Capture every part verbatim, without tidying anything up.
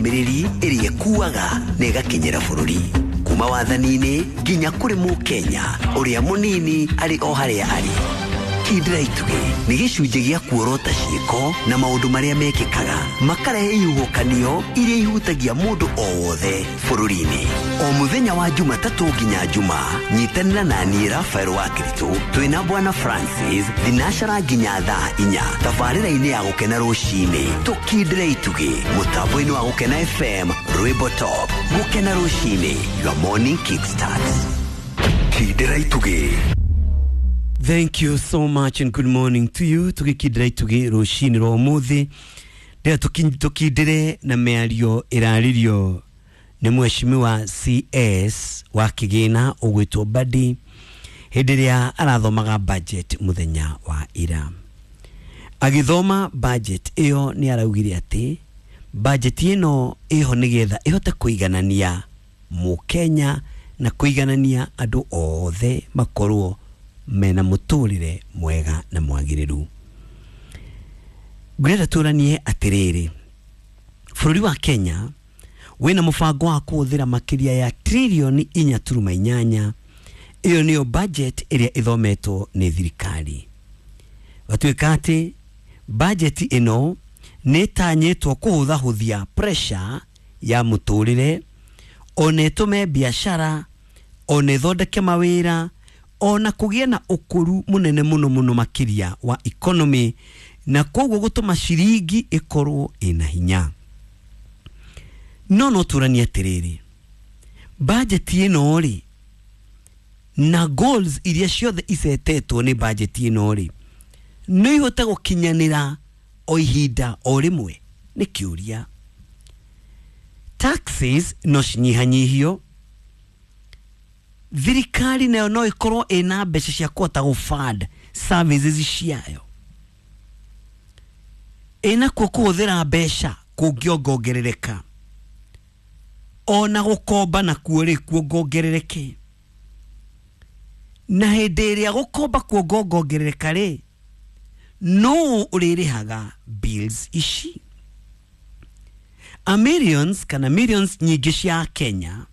Ndũmĩrĩri ĩrĩa ĩkuaga na ĩgakinyĩra bũrũri kuma wathani-inĩ nginya kũrĩ mũkenya ũrĩa mũnini arĩ o harĩa arĩ. Kindĩra Itugĩ nĩ gĩcunjĩ gĩa kuorota ciĩko na maũndũ marĩa mekĩkaga makarehe ihuhũkanio iria ihutagia mũndũ o wothe bũrũri-inĩ. O mũthenya wa Jumatatũ nginya Juma, nyitanĩra na niĩ Rafael wa Kiritũ twĩna Bwana Francis thinacara nginya thaa inya tabarĩra-inĩ ya Gũkena Rũcinĩ. Tũkindĩre itugĩ mũtambo-inĩ wa Gũkena F M, Rwĩmbo Top. Gũkena Rũcinĩ, your morning kickstart. Kindĩra Itugĩ. Thank you so much and good morning to you. Tugikindira itugi rucini rwa umuthi ndira tukindire na miario iraririo ni mheshimiwa C S wa Kigina ugwitwo Mbadi hindi ria arathomaga budget muthenya wa ira. Agithoma budget iyo ni araugire ati budget ino iho nigetha ihote kuiganania mukenya na kuiganania andu othe makorwo mena muturire mwega na mwagiriru. Ngwenda turanie atiriri, bũrũri wa Kenya wina mubango wa kuhuthira makiria ya trilioni inya turuma inyanya. Iyo niyo budget iria ithometwo ni thirikari. Gatuika ati budget ino ni itanyitwo kuhuthahuthia pressure ya muturire, ona itume biashara, ona ithondeke mawira, ona kugia na ukuru munene muno muno makiria wa economy, na koguo gutuma ciringi ikorwo ina hinya. No no turanie atiriri, budget ino ri na goals iria ciothe icetetwo ni budget ino ri no ihote gukinyanira o ihinda o rimwe? Ni kiuria. Taxes no cinyihanyihio, thirikari nayo no ikorwo ina mbeca cia kuhota gũ-fund services ciayo, ina kuo kuhuthira mbeca kũngĩongongerereka, ona gũkomba nakuo rĩ kuongongerereke. Na hĩndĩ ĩrĩa gũkomba kuongongerereka rĩ, no ũrĩrĩhaga bills ici? A millions kana millions nyingĩ cia Kenya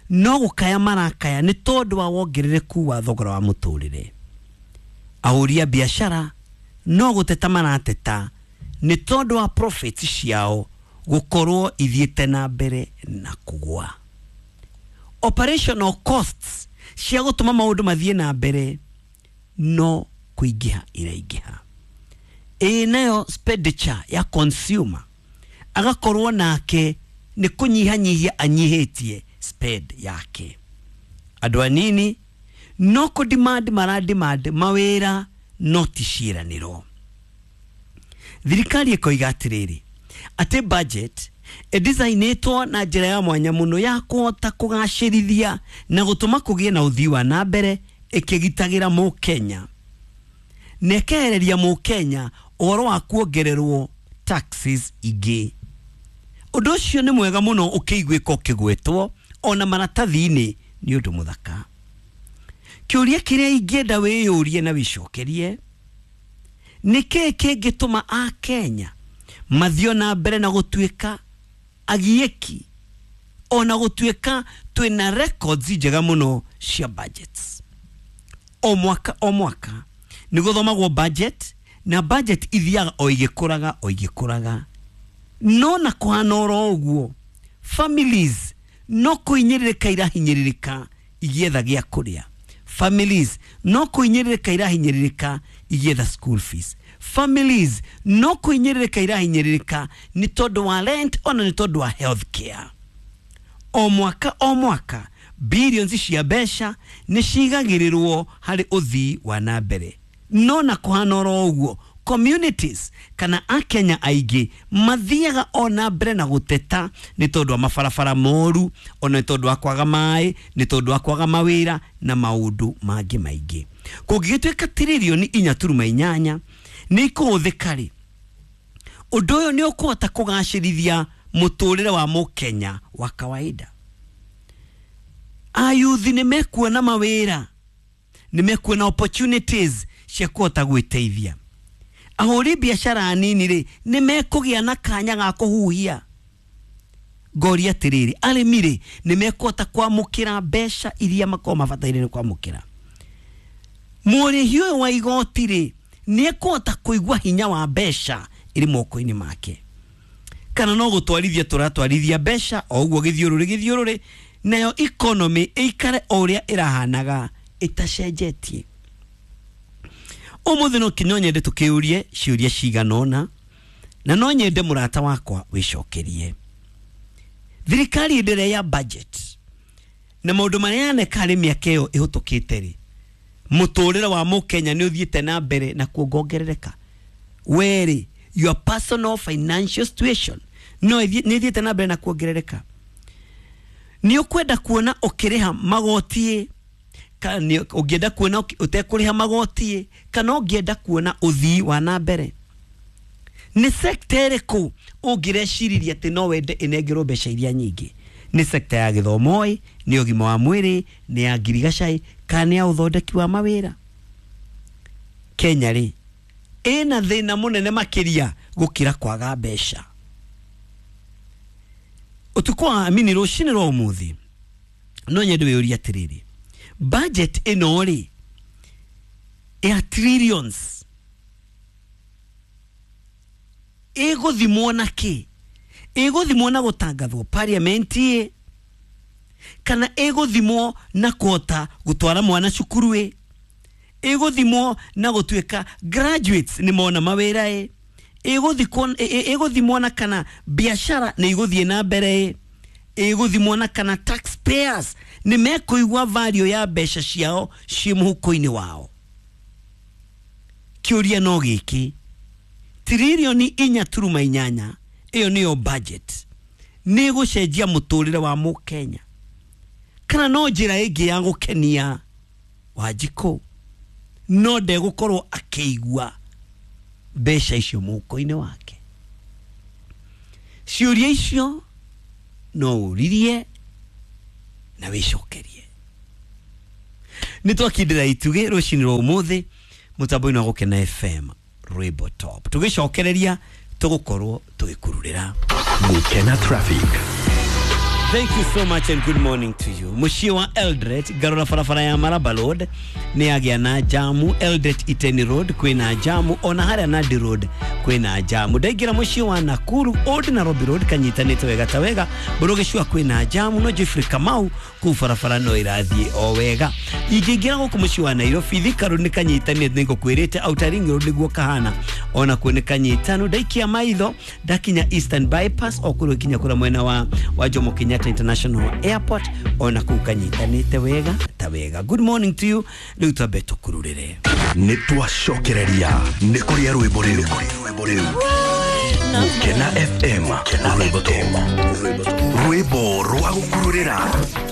no gũkaya marakaya nĩ tondũ wa wongerereku wa thogora wa mũtũrĩre. Ahũri a biashara no gũteta marateta nĩ tondũ wa profits ciao gũkorwo ithiĩte na mbere na kũgũa. Operational costs cia gũtũma maũndũ mathiĩ na mbere no kũingĩha iraingĩha. Ĩ nayo expenditure ya consumer agakorwo nake nĩ kũnyihanyihia anyihĩtie spend yake. Andũ anini no kũ demand mara demand mawĩra no ti ciĩranĩro. Thirikari ĩkoiga atĩrĩrĩ, atĩ budget ĩdesignĩtwo na njĩra ya mwanya mũno ya kũhota kũgacĩrithia na gũtũma kũgĩe na ũthii wa na mbere, ĩkĩgitagĩra mũkenya na ĩkehereria mũkenya ũhoro wa kuongererwo taxes ingĩ. Ũndũ ũcio nĩ mwega mũno ũkĩiguĩka ũkĩgwetwo ona maratathi-inĩ nĩ ũndũ mũthaka. Kĩũria kĩrĩa ingĩenda wĩyũrie na wĩcokerie, nĩ kĩĩ kĩngĩtũma Akenya mathiĩ na mbere na gũtuĩka agiĩki, ona gũtuĩka twĩna records njega mũno cia budgets? O mwaka o mwaka nĩ gũthomagwo budget, na budget ithiaga o igĩkũraga o igĩkũraga. No na kũhana oro ũguo, families no kũhinyĩrĩrĩka irahinyĩrĩrĩka igĩetha gĩa kũrĩa. Families no kũhinyĩrĩrĩka irahinyĩrĩrĩka igĩetha school fees. Families no kũhinyĩrĩrĩka irahinyĩrĩrĩka nĩ tondũ wa rent, ona nĩ tondũ wa health care. O mwaka o mwaka billions cia mbeca nĩ cigagĩrĩrwo harĩ ũthii wa na mbere. No na kũhana oro ũguo, communities kana Akenya aingĩ mathiaga ona mbere na gũteta nĩ tondũ wa mabarabara moru, ona nĩ tondũ wa kwaga maĩ, nĩ tondũ wa kwaga mawĩra na maũndũ mangĩ maingĩ. Kũngĩgĩtuĩka tiririoni inya turuma inyanya nĩ ikũhũthĩka rĩ, ũndũ ũyũ nĩ ũkũhota kũgacĩrithia mũtũrĩre wa mũkenya wa kawaida. Ayuthi nĩ mekuona mawĩra, nĩ mekuona opportunities cia kũhota gwĩteithia. Ahũri biashara anini rĩ, nĩ mekũgĩa na kanya ga kũhuhia. Ngoria atiriri, arĩmi rĩ nĩ mekũhota kwamũkĩra mbeca iria makorwo mabataire nĩ kwamũkĩra? Mũrĩhi ũyũ wa igoti rĩ nĩ ekũhota kũigua hinya wa mbeca ĩrĩ moko-inĩ make, kana no gũtwarithia tũratwarithia mbeca o ũguo gĩthiũrũrĩ gĩthiũrũrĩ, nayo economy ĩikare o ũrĩa ĩrahanaga ĩtacenjetie? Ũmũthĩ no kinya nyende tũkĩũrie ciũria cigana ũna, na no nyende mũrata wakwa wĩcokerie. Thirikari ĩndĩre ya budget na maũndũ marĩa yaneka harĩ mĩaka ĩyo ĩhĩtũkĩte rĩ, mũtũrĩre wa mũkenya nĩ ũthiĩte na mbere na kuongongerereka? Werĩ, your personal financial situation no nĩ ĩthiĩte na mbere na kuongerereka? Nĩ ũkwenda kuona ũkĩrĩha magoti, kana ũngĩenda kuona ũtekũrĩha magoti, kana ũngĩenda kuona ũthii wa na mbere? Nĩ sector ĩrĩkũ ũngĩreciriria atĩ no wende ĩnengerwo mbeca iria nyingĩ? Nĩ sector ya gĩthomo ĩ, nĩ ũgima wa mwĩrĩ, nĩ ya ngirigaca, kana nĩ ya ũthondeki wa mawĩra? Kenya rĩ ĩna thĩna mũnene makĩria gũkĩra kwaga mbeca. Ũtukũ wa amini rũcinĩ rwa ũmũthĩ no nyende wĩyũrie atĩrĩrĩ, budget ĩno rĩ ya trillions ĩgũthimwo na kĩ? Ĩgũthimwo na gũtangathwo parliament ĩ, kana ĩgũthimwo na kũhota gũtwara mwana cukuru ĩ, ĩgũthimwo na gũtuĩka graduates nĩ mona mawĩra ĩ, ĩgũthimwo na kana biashara nĩ igũthiĩ na mbere ĩ, ĩgũthimwo na kana taxpayers nĩ mekũigua value ya mbeca ciao ciĩ mũhuko-inĩ wao? Kĩũria no gĩkĩ, trilioni inya turuma inyanya ĩyo nĩyo budget nĩ ĩgũcenjia mũtũrĩre wa mũkenya, kana no njĩra ĩngĩ ya gũkenia Wanjikũ no ndegũkorwo akĩigua mbeca icio mũhuko-inĩ wake? Ciũria icio no ũririe na wĩcokerie. Nĩ twakindĩra itugĩ rũcinĩ rwa ũmũthĩ mũtambo-inĩ wa Gũkena F M Rwĩmbo Top, tũgĩcokereria tũgũkorwo tũgĩkururĩra Gũkena Traffic. Thank you so much and good morning to you. Mũciĩ wa Eldoret, ngarora barabara ya Maraba Road nĩ yagĩa na jamu. Eldoret Iten Road kwĩna jamu, ona harĩa Nandi Road kwĩna jamu. Ndaingĩra mũciĩ wa Nakuru Old Nairobi Road kanyitanĩte wega ta wega. Burugicua kwĩna jamu, no Jeffrey Kamau kũu barabara no ĩrathiĩ o wega. Ingĩingĩra gũkũ mũciĩ wa Nairobi Thika Road nĩ kanyitanĩte, nĩ ngũkwĩrĩte Outer Ring Road nĩguo kahana, ona kuo nĩ kanyitanu. Ndaikia maitho ndakinya Eastern Bypass o kũrĩa kinya kũrĩa mwena wa wa Jomo Kenyatta International Airport, ona kũu kanyitanĩte wega ta wega. Good morning to you. Rĩu twambe tũkururĩre. Nĩ twacokereria nĩ kũrĩa rwĩmbo rĩu. Gũkena F M Rwĩmbo Top, rwĩmbo rwa gũkururĩra.